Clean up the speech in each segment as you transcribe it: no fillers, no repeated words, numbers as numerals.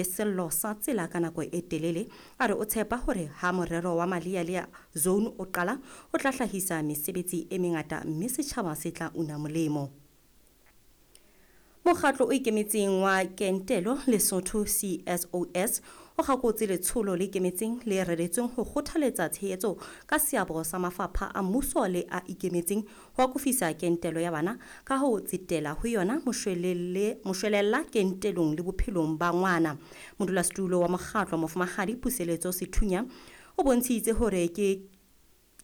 le sello sa tsela ka nako e telele. A re o tshepa hore ha morero wa Malealea Zone o qala, o tla hlahisa mesebetsi e mengata mme setjhaba se tla una molemo. Mokgatlo o ikemetseng wa Kentelo Lesotho CSOS o kgakotse letsholo le ikemetseng le reretsweng ho kgothaletsa tshehetso ka seabo sa mafapha a mmuso le a ikemetseng ho akofisa kentelo ya bana ka ho tsetela ho yona moshwelella kentelong le bophelong ba ngwana. Modulasetulo wa mokgatlo Mofumahadi Puseletso Sethunya o bontshitse hore ke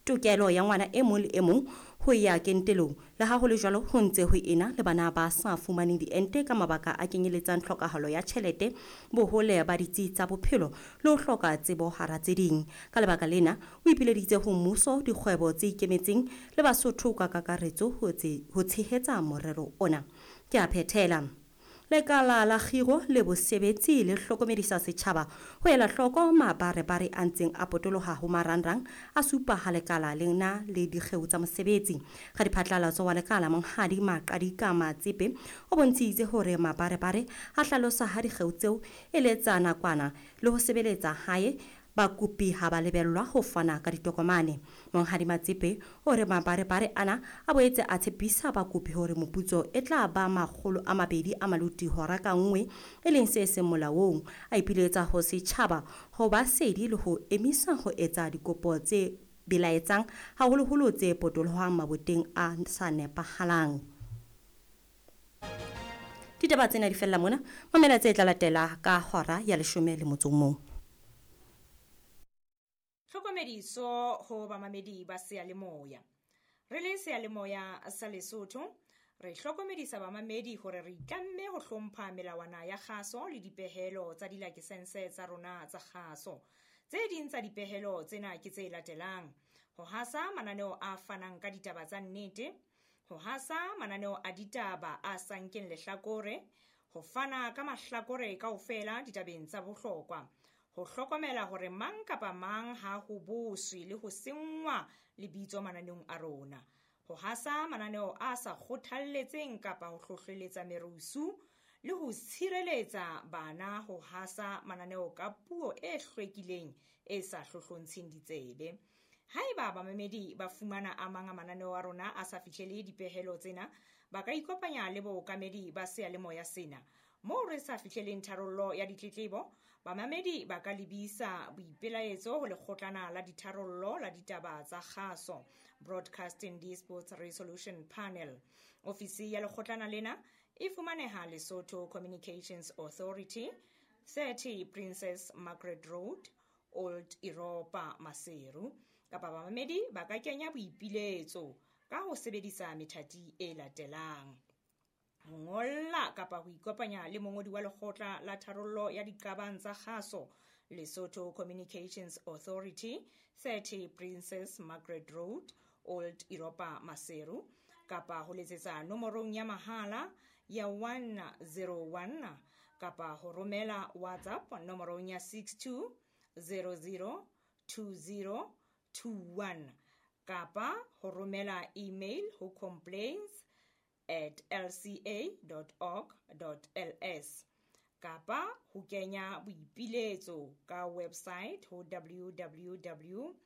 tokelo ya ngwana e mong le e mong ho ya kentelong. Le ha ho le jwalo, ho ntse ho ena le bana ba sa fumaneng diente ka mabaka a kenyeletsang tlhokahalo ya tjhelete, bohole ba ditsi tsa bophelo le ho hloka tsebo hara tse ding. Ka lebaka lena, o ipileditse ho mmuso, dikgwebo tse ikemetseng le Basotho ka kakaretso ho tshehetsa morero ona. Ke a phethela. Lekala la kgiro le bosebetsi le hlokomedisa setjhaba ho ela hloko mabarebare a ntseng a potoloha ho marangrang a supa ha lekala le na le dikgeo tsa mosebetsi. Radiphatlalatso wa lekala Monghadi Maqadika Matsepe o bontshitse hore mabarebare a hlalosa ha dikgeo tseo e le tsa nakwana le ho sebeletsa hae bakopi ha ba lebellwa ho fana ka ditokomane. Monghadi Matsepe o re mabarebare ana a boetse a tshepisa bakopi hore moputso e tla ba 200 a maloti hora ka nngwe, e leng se seng molaong. A ipiletsa ho setjhaba ho ba sedi le ho emisa ho etsa dikopo tse belaetsang, haholoholo tse potolohang maboteng a sa nepahalang. Ditaba tsena di fella mona. Mamela tse tla latela ka hora ya 11. Tlhokomediso ho bamamedi ba seyalemoya. Re le seyalemoya sa Lesotho, re hlokomedisa bamamedi hore re itlamme ho hlompha melawana ya kgaso le dipehelo tsa dilakesense tsa rona tsa kgaso. Tse ding tsa dipehelo tsena ke tse latelang: ho hasa mananeo a fanang ka ditaba tsa nnete, ho hasa mananeo a ditaba a sa nkeng lehlakore, ho fana ka mahlakore kaofela ditabeng tsa bohlokwa, ho hlokomela hore mang kapa mang ha ho boswe le ho senngwa lebitso mananeong a rona, ho hasa mananeo a sa kgothalletseng kapa ho hlohleletsa merusu le ho tshireletsa bana, ho hasa mananeo ka puo e hlwekileng e sa hlohlontsheng ditsebe. Haeba bamamedi ba fumana a mang a mananeo a rona a sa fihlele dipehelo tsena, ba ka ikopanya le bookamedi ba seyalemoya sena. Moo re sa fihleleng tharollo ya ditletlebo, bamamedi ba ka lebisa boipelaetso ho lekgotlana la ditharollo la ditaba tsa kgaso, Broadcasting Disputes Resolution Panel. Ofisi ya lekgotlana lena e fumaneha Lesotho Communications Authority, 30 Princess Margaret Road, Old Europa, Maseru. Kapa bamamedi ba ka kenya boipiletso ka ho sebedisa methati e latelang: ho ngolla kapa ho ikopanya le mongodi wa lekgotla la tharollo ya diqabang tsa kgaso, Lesotho Communications Authority, 30 Princess Margaret Road, Old Europa, Maseru, kapa ho letsetsa nomorong ya mahala ya 101, kapa ho romela WhatsApp nomorong ya 62 00 20 21, kapa ho romela email ho complaints@lca.org.ls, kapa ho kenya boipiletso ka website ho www.lca.org.ls.